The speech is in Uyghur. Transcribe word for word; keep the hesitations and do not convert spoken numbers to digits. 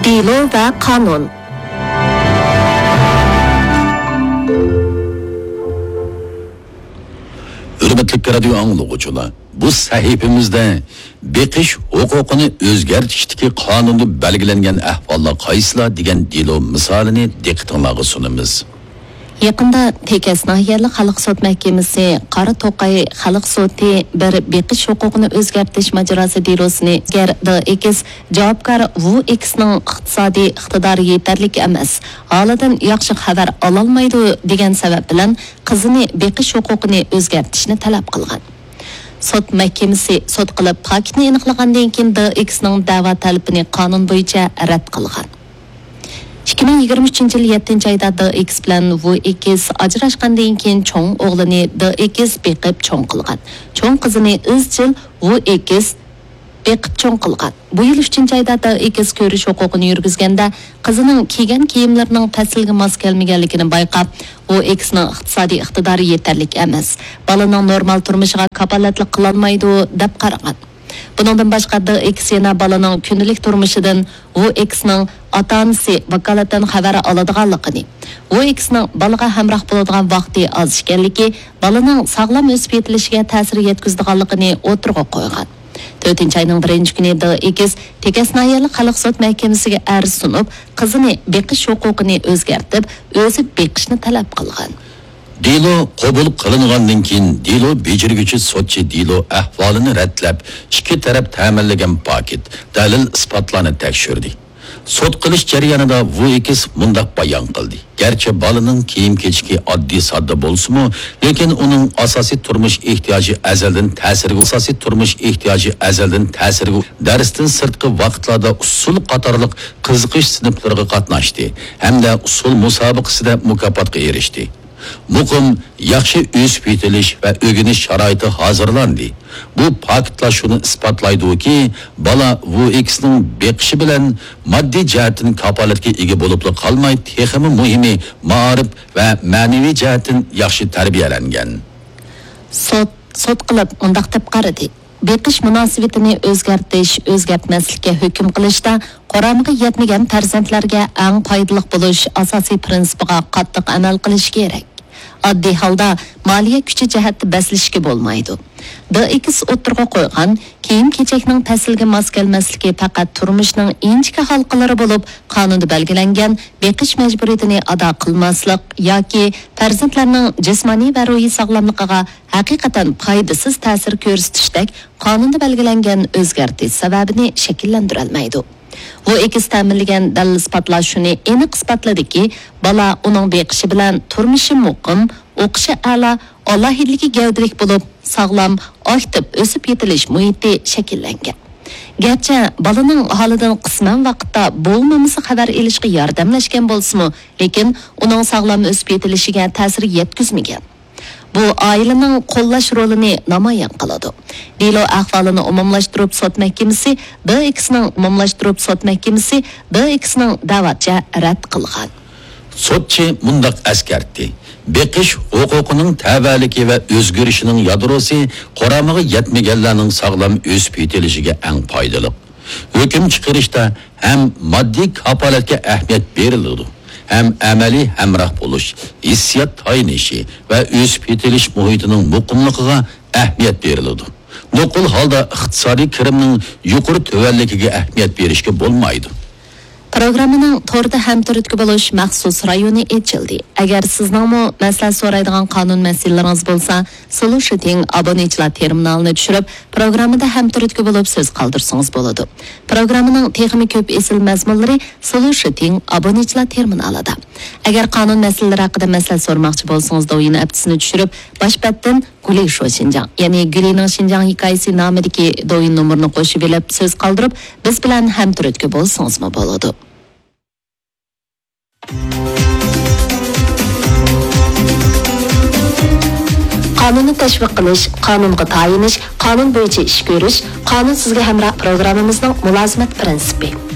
دېلو ۋە قانۇن. ھۆرمەتلىك رادىيو ئاڭلىغۇچىلار، بۇ سەھىپىمىزدە بېقىش ھوقۇقىنى ئۆزگەرتىشتىكى قانۇندا بەلگىلەنگەن ئەھۋاللار قايسىلار دېگەن دېلو مىسالىنى دىققىتىڭلارغا سۇنىمىز. يېقىندا تېكەس ناھىيەلىك خەلق سوت مەھكىمىسى قارا توقاي خەلق سوتى بىر بېقىش ھوقۇقىنى ئۆزگەرتىش ماجىراسى دېلوسىنى ئىگەر د ئېكس جاۋابكار ۋۇ ئېكسنىڭ ئىقتىسادىي ئىقتىدارى يېتەرلىك ئەمەس، ھالىدىن ياخشى خەۋەر ئالالمايدۇ دېگەن سەۋەب بىلەن قىزىنى بېقىش ھوقۇقىنى ئۆزگەرتىشنى تەلەپ قىلغان. سوت مەھكىمىسى سوت قىلىپ پاكىتنى ئېنىقلىغاندىن كېيىن د ئېكسنىڭ دەۋا تەلىپىنى قانۇن بويىچە رەت قىلغان. ئىككى مىڭ يىگىرمە ئۈچىنچى يىل يەتتىنچى ئايدا د ئېكس بىلەن ۋۇ ئېكس ئاجراشقاندىن كېيىن چوڭ ئوغلىنى د ئېكس بېقىپ چوڭ قىلغان. چوڭ قىزىنى ئىزچىل ۋۇ ئېكس بېقىپ چوڭ قىلغان. بۇ يىل ئۈچىنچى ئايدا د ئېكس كۆرۈش ھوقۇقىنى يۈرگۈزگەندە، قىزىنىڭ كىيگەن كىيىملىرىنىڭ پەسىلگە ماس كەلمىگەنلىكىنى بايقاپ، ۋۇ ئېكسنىڭ ئىقتىسادىي ئىقتىدارى يېتەرلىك ئەمەس، بالىنىڭ نورمال تۇرمۇشىغا كاپالەتلىك قىلالمايدۇ، دەپ قارىغان. بۇنىڭدىن باشقا، د ئېكس يەنە بالىنىڭ كۈندىلىك تۇرمۇشىدىن ۋۇ ئېكسنىڭ ئاتا-ئانىسى ۋاكالىتەن خەۋەر ئالىدىغانلىقىنى، ۋۇ ئېكسنىڭ بالىغا ھەمراھ بولىدىغان ۋاقتى ئاز ئىكەنلىكى، بالىنىڭ ساغلام ئۆسۈپ يېتىلىشىگە تەسىر يەتكۈزىدىغانلىقىنى ئوتتۇرىغا قويغان. تۆتىنچى ئاينىڭ بىرىنچى كۈنى د ئېكس تېكەس ناھىيەلىك خەلق سوت مەھكىمىسىگە ئەرز سۇنۇپ، قىزىنى بېقىش ھوقۇقىنى ئۆزگەرتىپ، ئۆزى بېقىشنى تەلەپ قىلغان. دېلو قوبۇل قىلىنغاندىن كېيىن، دېلو بېجىرگۈچى سوتچى دېلو ئەھۋالىنى رەتلەپ، ئىككى تەرەپ تەمىنلىگەن پاكىت، دەلىل-ئىسپاتلارنى تەكشۈردى. سوت قىلىش جەريانىدا ۋۇ ئېكس مۇنداق بايان قىلدى: «گەرچە بالىنىڭ كىيىم-كېچىكى ئاددىي-ساددا بولسىمۇ، لېكىن ئۇنىڭ ئاساسىي تۇرمۇش ئېھتىياجى ئەزەلدىن تەسىرگە، ئاساسىي تۇرمۇش ئېھتىياجى ئەزەلدىن تەسىرگە، دەرستىن سىرتقى ۋاقىتلاردا ئۇسسۇل قاتارلىق قىزىقىش سىنىپلىرىغا قاتناشتى ھەمدە ئۇسسۇل مۇسابىقىسىدە مۇكاپاتقا ئېرىشتى. مۇقىم، ياخشى ئۆسۈپ يېتىلىش ۋە ئۆگىنىش شارائىتى ھازىرلاندى.» بۇ پاكىتلار شۇنى ئىسپاتلايدۇكى، بالا ۋۇ ئېكسنىڭ بېقىشى بىلەن ماددىي جەھەتتىن كاپالەتكە ئىگە بولۇپلا قالماي، تېخىمۇ مۇھىمى، مائارىپ ۋە مەنىۋى جەھەتتىن ياخشى تەربىيەلەنگەن. سوت، سوت قىلىپ مۇنداق دەپ قارىدى: بېقىش مۇناسىۋىتىنى ئۆزگەرتىش، ئۆزگەرتمەسلىككە ھۆكۈم قىلىشتا قۇرامىغا يەتمىگەن پەرزەنتلەرگە ئەڭ پايدىلىق بولۇش ئاساسىي پىرىنسىپىغا قاتتىق ئەمەل قىلىش كېرەك. ئاددىي ھالدا مالىيە كۈچى جەھەتتە بەسلىشىشكە بولمايدۇ. د ئېكس ئوتتۇرىغا قويغان، كىيىم-كېچەكنىڭ پەسىلگە ماس كەلمەسلىكى پەقەت تۇرمۇشنىڭ ئىنچىكە ھالقىلىرى بولۇپ، قانۇندا بەلگىلەنگەن بېقىش مەجبۇرىيىتىنى ئادا قىلماسلىق ياكى پەرزەنتلەرنىڭ جىسمانىي ۋە روھىي ساغلاملىقىغا ھەقىقەتەن پايدىسىز تەسىر كۆرسىتىشتەك قانۇندا بەلگىلەنگەن ئۆزگەرتىش سەۋەبىنى شەكىللەندۈرەلمەيدۇ. ۋۇ ئېكس تەمىنلىگەن دەلىل-ئىسپاتلار شۇنى ئېنىق ئىسپاتلىدىكى، بالا ئۇنىڭ بېقىشى بىلەن تۇرمۇشى مۇقىم، ئوقۇشى ئەلا، ئالاھىدىلىكى گەۋدىلىك بولۇپ، ساغلام، ئاكتىپ ئۆسۈپ يېتىلىش مۇھىتى شەكىللەنگەن. گەرچە بالىنىڭ ھالىدىن قىسمەن ۋاقىتتا بولمىمىسى خەۋەر ئېلىشقا ياردەملەشكەن بولسىمۇ، لېكىن ئۇنىڭ ساغلام ئۆسۈپ يېتىلىشىگە تەسىر يەتكۈزمىگەن. بۇ ئائىلىنىڭ قوللاش رولىنى نامايان قىلىدۇ. دېلو ئەھۋالىنى ئومۇملاشتۇرۇپ سوت مەھكىمىسى، د ئېكسنىڭ ئومۇملاشتۇرۇپ سوت مەھكىمىسى، د ئېكسنىڭ دەۋاچە رەت قىلغان. سوتچى مۇنداق ئەسكەرتتى: «بېقىش ھوقۇقىنىڭ تەۋەلىكى ۋە ئۆزگىرىشىنىڭ يادروسى قۇرامىغا يەتمىگەنلەرنىڭ ساغلام ئۆسۈپ يېتىلىشىگە ئەڭ پايدىلىق. ھۆكۈم چىقىرىشتا ھەم ماددىي كاپالەتكە ئەھمىيەت بېرىلىدۇ، ھەم ئەمەلىي ھەمراھ بولۇش، ھېسسىيات تايىنىشى ۋە ئۆسۈپ يېتىلىش مۇھىتىنىڭ مۇقىملىقىغا ئەھمىيەت بېرىلىدۇ. نوقۇل ھالدا ئىقتىسادىي كىرىمنىڭ يۇقىرى تۆۋەنلىكىگە ئەھمىيەت بېرىشكە بولمايدۇ.» پروگراممىنىڭ توردا ھەمتۈرتكە بولۇش مەخسۇس رايونى ئېچىلدى. ئەگەر سىزنىڭمۇ مەسلىھەت سورايدىغان قانۇن مەسىلىلىرىڭىز بولسا، سولۇشىتىڭ ئابونېنتلار تېرمىنالىنى چۈشۈرۈپ، پروگراممىدا ھەمتۈرتكە بولۇپ سۆز قالدۇرسىڭىز بولىدۇ. پروگراممىنىڭ تېخىمۇ كۆپ ئېسىل مەزمۇنلىرى سولۇشىتىڭ ئابونېنتلار تېرمىنالىدا. ئەگەر قانۇن مەسىلىلىرى ھەققىدە مەسلىھەت سورىماقچى بولسىڭىز، دوۋيىن ئەپچىسىنى چۈشۈرۈپ، باش بەتتىن گۇلى شو شىنجاڭ، يەنى گۈلىنىڭ شىنجاڭ ھېكايىسى نامىدىكى دوۋيىن نومۇرىنى قوشۇۋېلىپ سۆز قالدۇرۇپ، بىز بىلەن ھەمتۈرتكە بولسىڭىزمۇ بولىدۇ. قانۇننى تەشۋىق قىلىش، قانۇنغا تايىنىش، قانۇن بويىچە ئىش كۆرۈش، قانۇن سىزگە ھەمراھ پروگراممىمىزنىڭ مۇلازىمەت پىرىنسىپى.